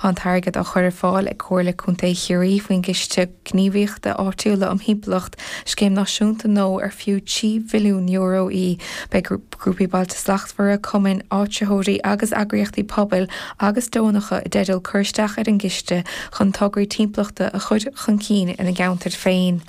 Tá an t-airgead á chur ar fáil ag Comhairle Contae Chiarraí faoin gCiste Gníomhaíochta Áitiúla um Thimpeallacht, scéim náisiúnta nua ar fiú €3 bhilliún í. Beidh Grúpaí Bailte Slachtmhara, cumainn, áitritheoirí agus eagraíochtaí pobail agus deonacha i dteideal cur isteach ar an gciste chun tograí timpeallachta a chur chun cinn ina gceantair féin.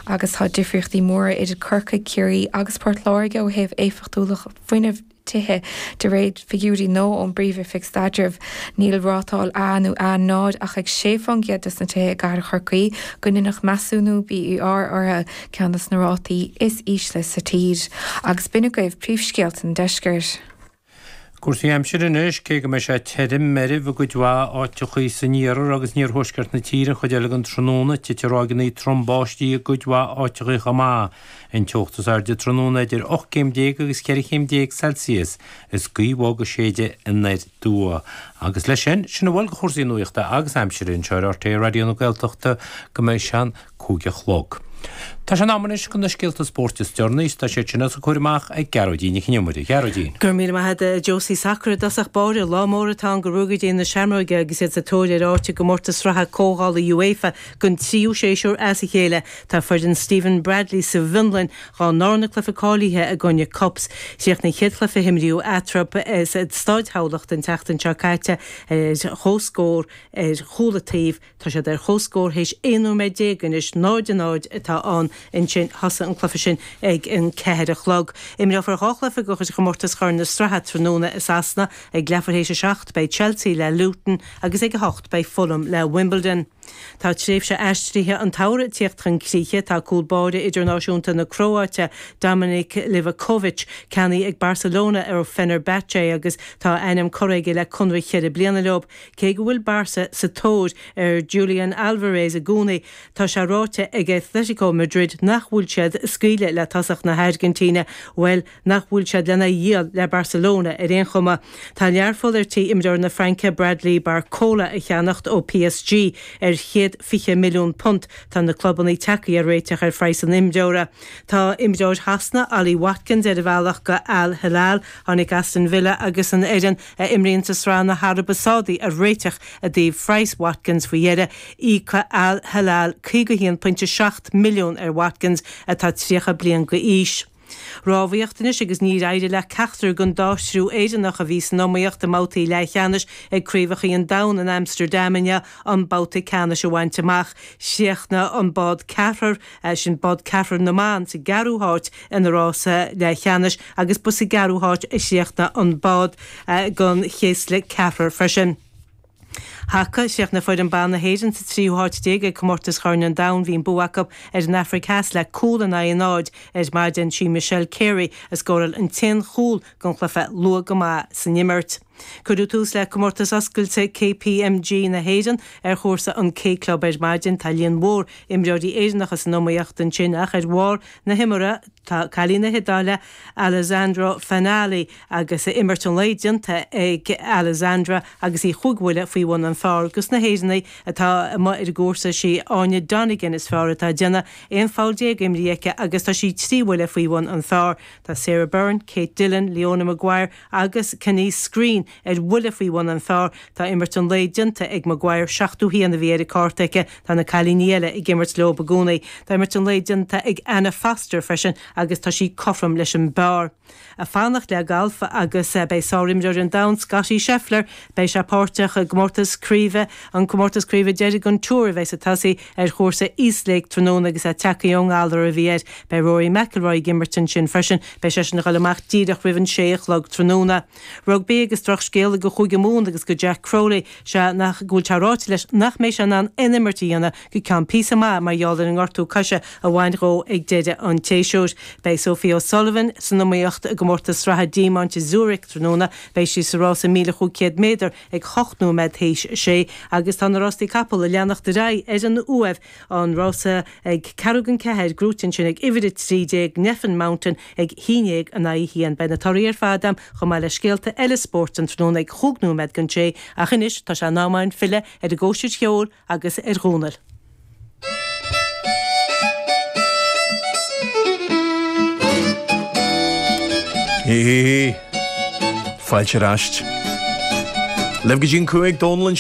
Agus tá difríochtaí móra idir Corcaigh, Ciarraí agus Port Láirge ó thaobh éifeachtúlacht fuinnimh tithe, de réir figiúirí nua ón bPríomh-Oifig Staidrimh. Níl rátáil A nó A0 ach ag 6 fán gcéad des na tithe i gcathair Chorcaí go ndeineadh measúnú BER orthu, ceann des na rátaí is ísle sa tír. Agus b'in agaibh príomhscéalta an deiscirt. Cúrsaí aimsire anois, cé go mbeidh sé tirim, meirbh i gcuid mhaith áiteachaí san iarthar agus in iarthuaisceart na tíre an chuid eile den tráthnóna, titfidh ráigeanna trom báistí i gcuid mhaith áiteachaí chomh maith. An teocht is airde tráthnóna idir 18 céim agus 14 chéim Celsius, is gaoth bhog ag séideadh anoir aduaidh. Agus leis sin, sin a bhfuil de chúrsaí nuachta agus aimsire anseo ar RTÉ Raidió na Gaeltachta go mbeidh sé an 5 a chlog. Tá sé in am anois do na scéalta spóirt is deireanaí is tá siad sin os a gcomhair amach ag Gearóidín Nic Con Iomaire. A Ghearóidín. Go raibh míle maith agat a Josie. Sacar i dtosach báire, lá mór atá ann do Ruagairí na Seamróige agus iad sa tóir ar áit i gcomórtas sraithe comhdhála UEFA don tríú séasúr as a chéile. Tá foireann Stephen Bradley sa bhFionlainn dá ndarna cluiche cáilithe i gcoinne KuPS. Chríochnaigh an chéad chluiche a imríodh eatarthu i Staid Thamhlachta an tseachtain seo caite ar chomhscór ar chúl an taobh. Tá siad ar comhscór théis 11 nóiméad anois, 0-0 atá ann ansin. Thosaigh an cluiche sin ag an 4 a chlog. Imreofar dhá chluiche de chuid chomórtas Chorn na Sraithe tráthnóna i Sasana. Ag leathuair théis a seacht beidh Chelsea le Luton agus ag a hocht beidh Fulham le Wimbledon. Tá tréimhse aistrithe an tsamhraidh ag tíocht chun críche. Tá cúl báire idirnáisiúnta na Cróáite, Dominik Livakovic, ceannaithe ag Barcelona ó Fenerbahce agus tá a ainm curtha aige le conradh cheithre bliana leo. Cé go bhfuil Barca sa tóir ar Julian Alvarez i gcónaí, tá sé ráite ag Atletico Madrid nach bhfuil siad ag scaoileadh le tosach na hAirgintíne, bhuel, nach bhfuil siad lena dhíol le Barcelona ar aon chuma. Tá Learpholl ar tí imreoir na Fraince Bradley Barcola a cheannacht ó PSG ar £120 milliún. Tá na clubanna tagtha ar réiteach ar phraghas an imreora. Tá imreoir Shasana, Ollie Watkins, ar a bhealach go Al Hilal. Tháinig Aston Villa agus an fhoireann a imríonn sa sraith na hAraibe Sádaí ar réiteach i dtaobh phraghas Watkins faoi dheireadh. Íocfaidh Al Hilal 51.7 milliún ar Watkins atá 30 bliain d'aois. Rámhaíocht anois agus níor éirigh le ceachtar den dá thriú Éireannach a bhí san iomaíocht i mbabhtaí leathcheannais ag Craobhacha an Domhain in Amsterdam inniu an babhta ceannais a bhaint amach. Chríochnaigh an bád ceathrar, sin bád ceathrar na mban, sa gceathrú háit ina rása leathcheannais agus ba sa gceathrú háit a chríochnaigh an bád don chéasla ceathrar freisin. Haca, Chríochnaigh foireann ban na hÉireann sa tríú háit déag ag Comórtas Chorn an Domhain. Bhí an bua acu ar an Afraic Theas le cúl in aghaidh a náid ar maidin. Sí Michelle Carey a scóráil an t-aon chúl den chluiche luath go maith san imirt. Cuireadh tús le Comórtas Oscailte KPMG na hÉireann ar chúrsa an K Club ar maidin. Tá líon mhór imreoirí Éireannacha san iomaíocht ansin ach ar bharr na himeartha tá cailín na hIodáile Alessandra Fanali agus imirt an lae déanta ag Alessandra agus í chúig bhuille faoi bhun an phar. Dos na hÉireannaigh atá amuigh ar an gcúrsa sí Áine Donegan is fearr atá ag déanamh, 11 pholl imrithe aici agus tá sí trí bhuille faoi bhun an phar. Tá Sarah Byrne, Kate Dillon, Leona Maguire agus Canice Screen ar bhuille faoi bhun an phar. Tá imirt an lae déanta ag Maguire, 71 a bhí ar an cárta aici. Tá na cailíní eile ag imirt leo i gcónaí. Tá imirt an lae déanta ag Anna Foster freisin agus tá sí cothrom leis an bpar. Ag fanacht le galf agus beidh sárimreoir an domhain Scottie Scheffler, beidh sé páirteach i gcomórtas craoibhe, an comórtas craoibhe deiridh den Tour a bheas ag tosaí ar chúrsa East Lake tráthnóna agus é tagtha ón ngalar a bhí air. Beidh Rory McIlroy ag imirt ansin freisin. Beidh seisean ag dul amach díreach roimh an sé a chlog tráthnóna. Rugbaí agus drochscéala do Chúige Mumhan agus do Jack Crowley, sea nach go bhfuil sé ráite leis nach mbeidh sé in ann aon imirt a dhéanamh go ceann píosa maith mar gheall ar an ngortú coise a bhain dhó ag deireadh an tséasúir. Beidh Sophie O'Sullivan san iomaíocht i gcomórtas sraithe diamaint i Zurich tráthnóna. Beidh sí sa rása 1,500 méadar ag 8 nóiméad théis a sé agus tá na rástaí capall ag leanacht ar aghaidh ar an Uaimh, an rása ag ceathrú don ceathair, gnóite ansin ag uimhir 13, Nephin Mountain, ag haon dhéag in aghaidh a haon. Beidh na torthaí ar fad a'm chomh maith le scéalta eile spóirt an tráthnóna ag chúig nóiméad don sé ach anois tá sé in am a'inn filleadh ar an gcóisir cheoil agus ar Dhónall. Hí hí hí. Fáilte ar ais. Libh go dtí an 5 Dónal anseo.